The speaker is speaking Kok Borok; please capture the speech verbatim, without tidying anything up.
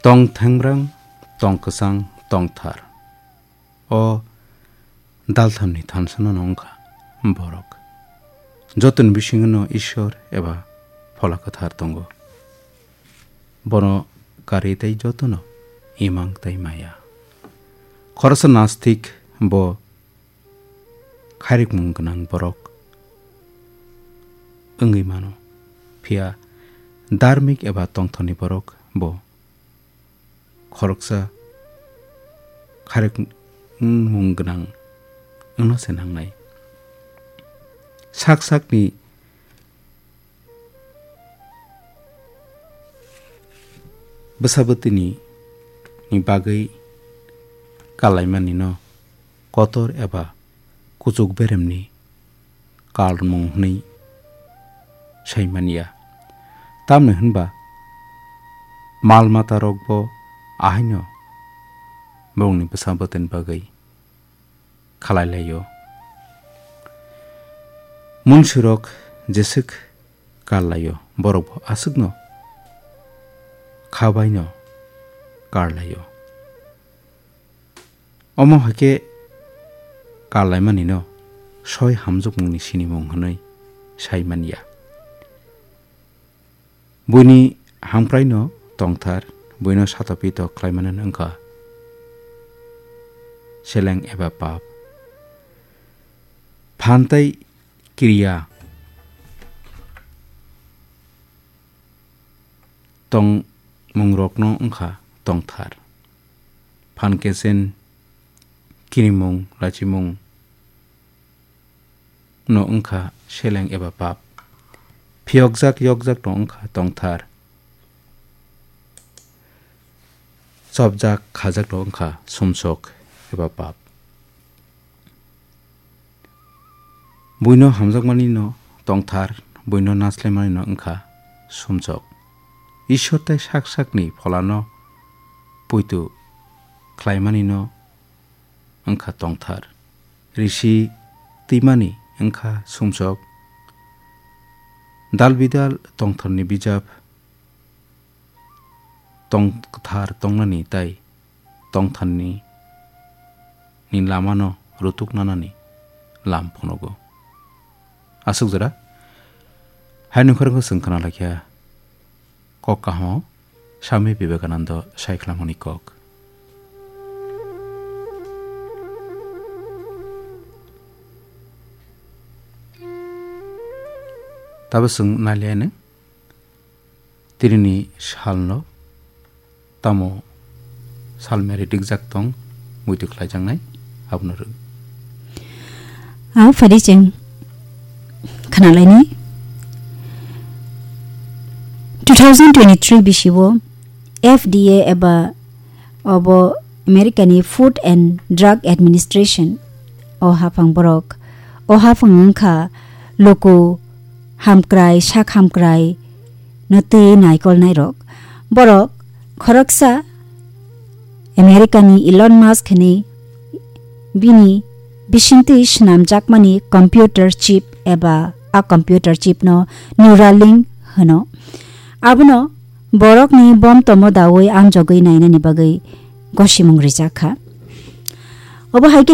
Tong thengrang, tong kwchang, tong thar. O dalthamni thansano wngkha borok. Jotoni bisingono Ishwar eba Phola Kwthar tongo. Bono karwi tei jotono imang tei maya. Khoroksa nastik bo khairikmung gwnang borok wngwi mano. Phiya dharmik eba tongthokni borok bo khoroksa khairikmung gwnang wngna se nangnai. Sak sakni bwsa bwtwini ni bagwi kalaimani no kotor eba kuchuk beremni kalmung hwnwi sai manya. Tamni hwnba mal matarokbo ahaino borokni bwsa bwtwini bagwi khalai laio. Munsirok jeswk kar laio, borokbo aswkno kha baino kar laio. Omo hai khe kar laimanino soi hamjwkmungni sinimung hwnwi sai manya. Buini hamkraino tongthar, buino sato pito khlaimanino wngkha seleng eba pap. Phan tei kiriya tongmungrokno wngkha tongthar. Phan kesen, kinimung, lachimung no wngkha seleng eba pap. Phiyokjak yokjak no wngkha tongthar. Chopjak khajak no wngkha sumsok eba pap. Buino hamjakmani no tongthar, buino naslaimani no wngkha sumsok. Ishwar tei sak sakni pholano puitu khlaimani no wngkha tongthar. Risi twimani wngkha sumsok. Dal bidal tongthorni bijap tong kwthar tongnani tei tongtharni ni lamano rutuk nanani lam phunugo. Aswk jora hai nokharwngkhe chwng khna laikha kok kahamo Swami Vivekananda sai khlamani kok. Tabo chwng nailaiano tinini salno tamo salmeri rikjak tong, muitu khlaijaknai abono rw. Ang phadi cheng khnalaini. Two thousand twenty-three bisio F D A eba obo America ni Food and Drug Administration o haphang borok, o haphang wngkha luku hamkrai, sak hamkrai no twi naikolnairok. Borok khoroksa America ni Elon Musk hinwi bini bisingtwi swnamjakmani computer chip eba a computer chip no Neuralink hwno. Abono borokni bom tomo daui amjogwi nainani bagwi gosimung rijak kha. Obo hai khe